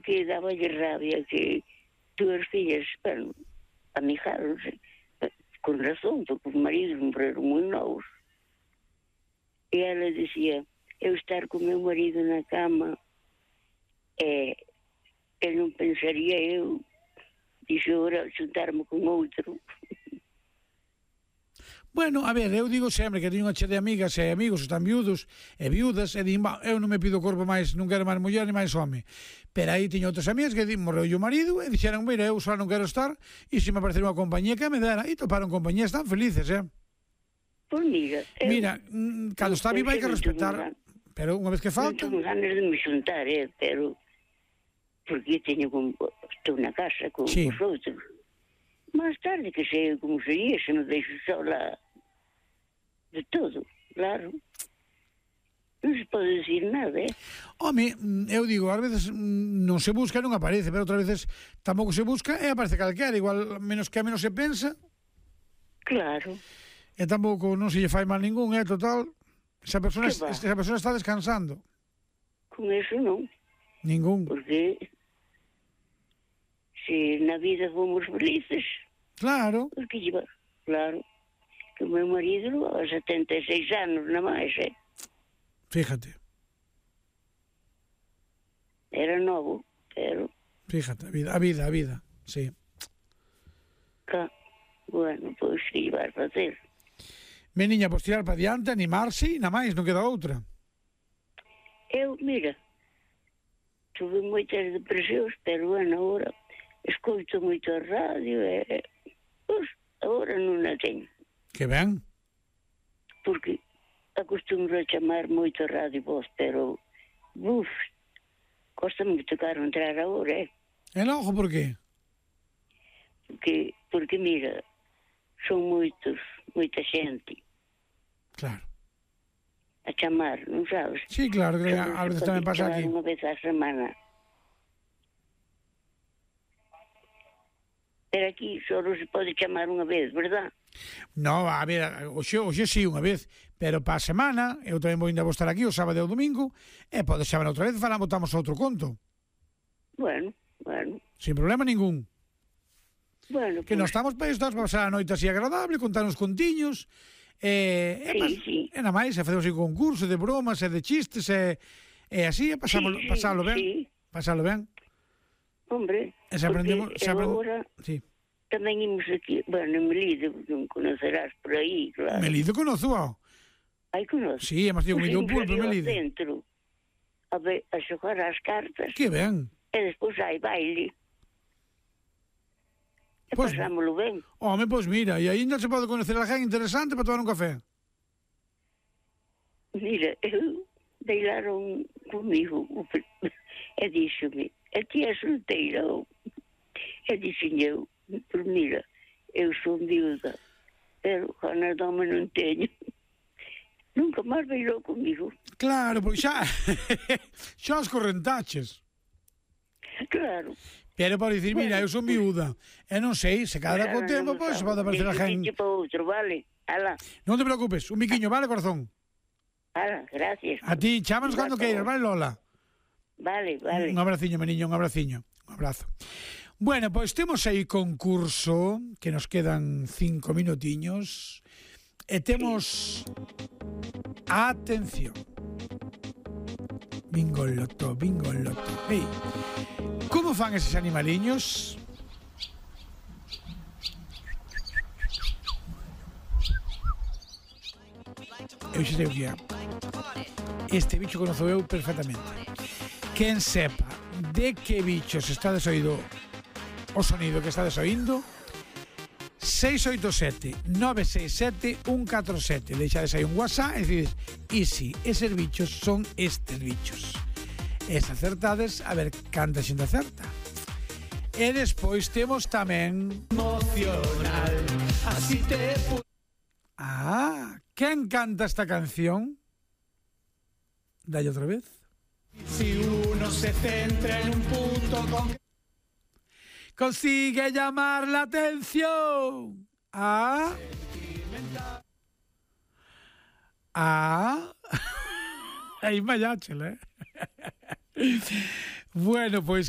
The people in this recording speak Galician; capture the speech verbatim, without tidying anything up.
porque daba rabia que dúas fillas, bueno, amigáronse, con razón, porque os maridos morreron moi novos. E ela dicía, eu estar con meu marido na cama, e eu non pensaría eu, dixo, ora, xuntarme con outro. Bueno, a ver, eu digo sempre que teño unha che de amigas e amigos que están viudos e viudas e din, eu non me pido corpo máis, non quero máis muller ni máis home. Pero aí teño outras amigas que din, morreu o marido e dixeran, mira, eu só non quero estar e se me aparecer unha compañía que me dera, e toparon compañías tan felices, eh? Pois mira... Mira, cando está viva hai que respetar, pero unha vez que falta... Non tengo ganas de me xuntar, eh, pero... porque teño con... estou na casa con sí. os outros. Más tarde que sei como sería se me deixo sola de todo, claro. Non se pode decir nada, eh? Home, eu digo, ás veces non se busca e non aparece, pero outras veces tampouco se busca e aparece calquera, igual menos que a menos se pensa. Claro. E tampouco non se lle fai mal ningún, eh, total. Esa persona, esa persona está descansando. Con eso non. Ningún. Porque se na vida fomos felices. Claro. Porque lleva, claro, que o meu marido a setenta e seis anos na máis, eh? Fíjate. Era novo, pero... Fíjate, a vida, a vida, a vida, sí. Cá, bueno, pois que llevar a facer. Meniña, pois tirar para diante, animarse e na máis, non queda outra. Eu, mira, tuve moitas depresións, pero bueno, agora escoito moito a radio e... Pois, agora non a teño. Que ben. Porque acostumbro a chamar moito a radio vos, pero... Uf, costa me tocar entrar agora, eh? E logo, por qué? Porque, porque mira, son moitos, moita xente. Claro. A chamar, non sabes? Sí, claro, que a veces tamén pasa aquí. Unha vez a semana. Pero aquí só se pode chamar unha vez, verdad? No, a ver, hoxe, hoxe sí, unha vez, pero para a semana, eu tamén vou ainda vou estar aquí o sábado e o domingo, e podes chamar outra vez, falamos, botamos outro conto. Bueno, bueno. Sin problema ningún. Bueno, que pues... nos estamos para isto, para pasar a noite así agradable, contar uns contiños, e, sí, e, sí. e na máis, e facemos un concurso de bromas e de chistes, e, e así, e pasamos, sí, pasalo ben, sí. pasalo ben. Hombre, e se aprendemos, se aprend... agora sí. tamén imos aquí, bueno, Melido, non conocerás por aí, claro. Melido conozo, ó. Ai, conozo. Sí, hemos tido comido un pulpo, Melido. Dentro, a, ver, a xogar as cartas. Que ben. E despois hai baile. E pues, pasámoslo ben. Home, pois mira, e ainda se pode conocer a gente interesante para tomar un café. Mira, eu bailaron comigo e díxome, a ti é solteira? E dixen eu, por mira, eu son viuda, pero ganas de home non teño. Nunca máis bailou comigo. Claro, porque xa xa os correntaches. Claro. Pero para dicir, mira, eu son viuda, e non sei, se cada co tempo, pois se pode aparecer a gente. Para outro, vale? Ala. Non te preocupes, un biquiño, vale, corazón? Ala, gracias. A ti, chámanos cando queiras, vale, Lola? Vale, vale. Un abraciño, meniño, un abraciño. Un abrazo. Bueno, pois temos aí concurso, que nos quedan cinco minutiños, e temos... Atención. Bingo loto, bingo loto. Hey. Como fan eses animaliños? Eu xa sei o que é. Este bicho conozo eu perfectamente. Quen sepa de que bichos está desoído o sonido que está desoindo, seis oito sete, nove seis sete, un catro sete. Deixades aí un WhatsApp e decides, e si, eses bichos son estes bichos. E se acertades, a ver canta xente acerta. E despois temos tamén emocional, así te... Ah, quen canta esta canción? Dalle outra vez. Si uno se centra en un punto con... consigue llamar la atención. Ah. Ah. Aí mayáchela, eh. Bueno, pois que